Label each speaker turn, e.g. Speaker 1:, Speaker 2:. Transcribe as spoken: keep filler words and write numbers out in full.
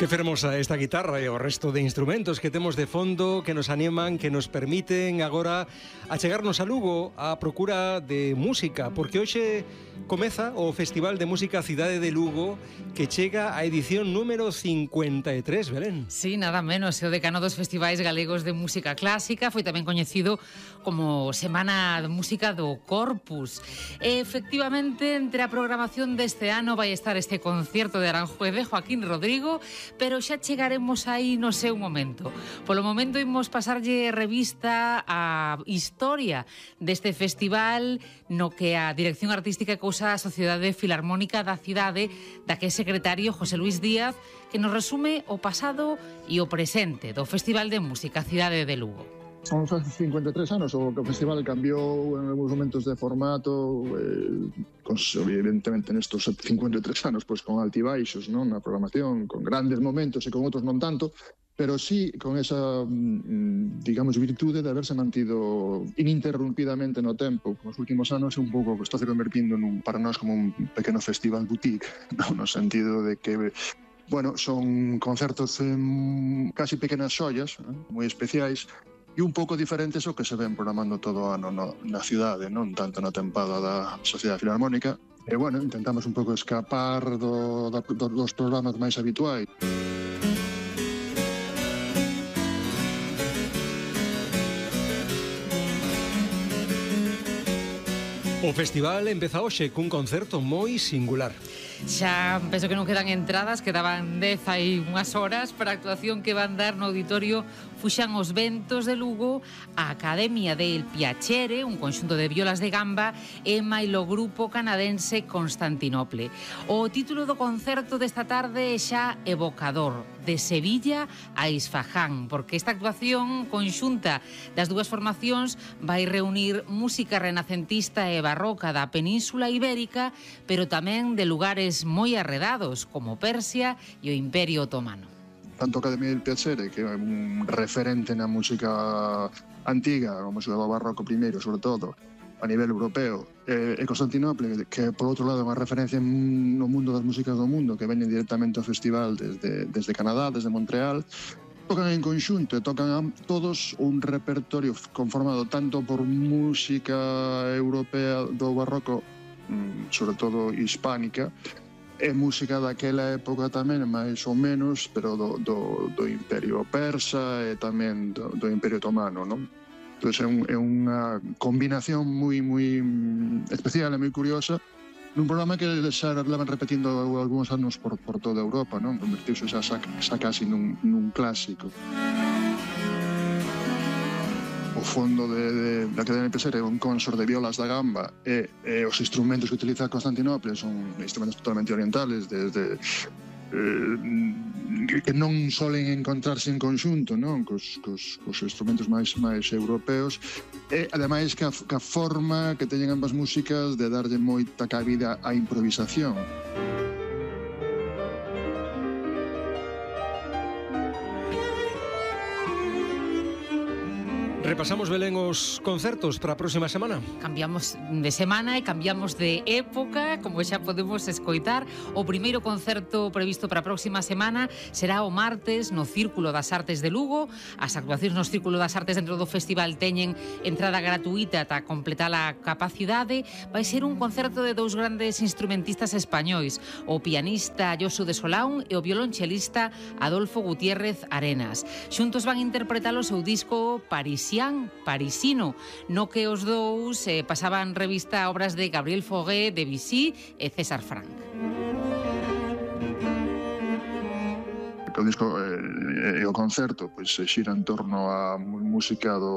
Speaker 1: Que fermosa esta guitarra e o resto de instrumentos que temos de fondo, que nos animan, que nos permiten agora achegarnos a Lugo a procura de música, porque hoxe comeza o Festival de Música Cidade de Lugo, que chega a edición número cincuenta e tres, Belén.
Speaker 2: Sí, nada menos, é o decano dos festivais galegos de música clásica, foi tamén coñecido como Semana de Música do Corpus. E, efectivamente, entre a programación deste ano vai estar este concerto de Aranjuez de Joaquín Rodrigo, pero xa chegaremos aí no seu momento. Polo momento imos pasarlle revista á historia deste festival no que a dirección artística cousa a Sociedade Filarmónica da cidade, da que é secretario José Luis Díaz, que nos resume o pasado e o presente do Festival de Música Cidade de Lugo.
Speaker 3: Son xa cincuenta e tres anos, o que o festival cambiou en algunos momentos de formato, eh, con, evidentemente nestos cincuenta e tres anos, pois con altibaixos, non, na programación, con grandes momentos e con outros non tanto, pero sí con esa, digamos, virtude de haberse mantido ininterrumpidamente no tempo. Nos últimos anos é un pouco que está se convertindo nun, para nós como un pequeno festival boutique, non? No sentido de que, bueno, son concertos en casi pequenas xollas, eh, moi especiais, e un pouco diferentes ao que se ven programando todo o ano no, na cidade, non tanto na tempada da Sociedade Filarmónica. E, bueno, intentamos un pouco escapar do, da, do, dos programas máis habituais.
Speaker 1: O festival empeza hoxe cun concerto moi singular.
Speaker 2: Xa penso que non quedan entradas, quedaban dez hai unhas horas para a actuación que van dar no auditorio Fuxan os Ventos de Lugo, a Academia del Piacere, un conxunto de violas de gamba, e mailo grupo canadense Constantinople. O título do concerto desta tarde é xa evocador, de Sevilla a Isfahán, porque esta actuación conxunta das dúas formacións vai reunir música renacentista e barroca da Península Ibérica, pero tamén de lugares moi arredados, como Persia e o Imperio Otomano.
Speaker 3: Tanto a Academia del Piacere, que é un referente na música antiga, a música do barroco primeiro, sobre todo, a nivel europeo, e, e Constantinople, que por outro lado é unha referencia no mundo das músicas do mundo, que veñen directamente ao festival desde, desde Canadá, desde Montreal, tocan en conxunto e tocan todos un repertorio conformado tanto por música europea do barroco, sobre todo hispánica, e música daquela época tamén, máis ou menos, pero do, do, do Imperio Persa e tamén do, do Imperio Otomano, non? Entón é, un, é unha combinación moi, moi especial e moi curiosa nun programa que xa levan repetindo algúns anos por, por toda Europa, non? Convertirse xa, xa, xa casi nun, nun clásico. O fondo de, de, da Academia de Piacere é un consor de violas da gamba e, e os instrumentos que utiliza Constantinople son instrumentos totalmente orientales, desde eh, que non solen encontrarse en conxunto, non, cos, cos, cos instrumentos máis máis europeos, e ademais que a, que a forma que teñen ambas músicas de darlle moita cabida á improvisación.
Speaker 1: Repasamos, Belén, os concertos para a próxima semana.
Speaker 2: Cambiamos de semana e cambiamos de época, como xa podemos escoitar. O primeiro concerto previsto para a próxima semana será o martes no Círculo das Artes de Lugo. As actuacións no Círculo das Artes dentro do festival teñen entrada gratuita ata completar a capacidade. Vai ser un concerto de dous grandes instrumentistas españois, o pianista Josu de Solán e o violonchelista Adolfo Gutiérrez Arenas. Xuntos van interpretar o seu disco Parisian, Parisino, no que os dous eh, pasaban revista a obras de Gabriel Fauré, Debussy e César Franck.
Speaker 3: O disco e eh, o concerto pois se xira en torno á música do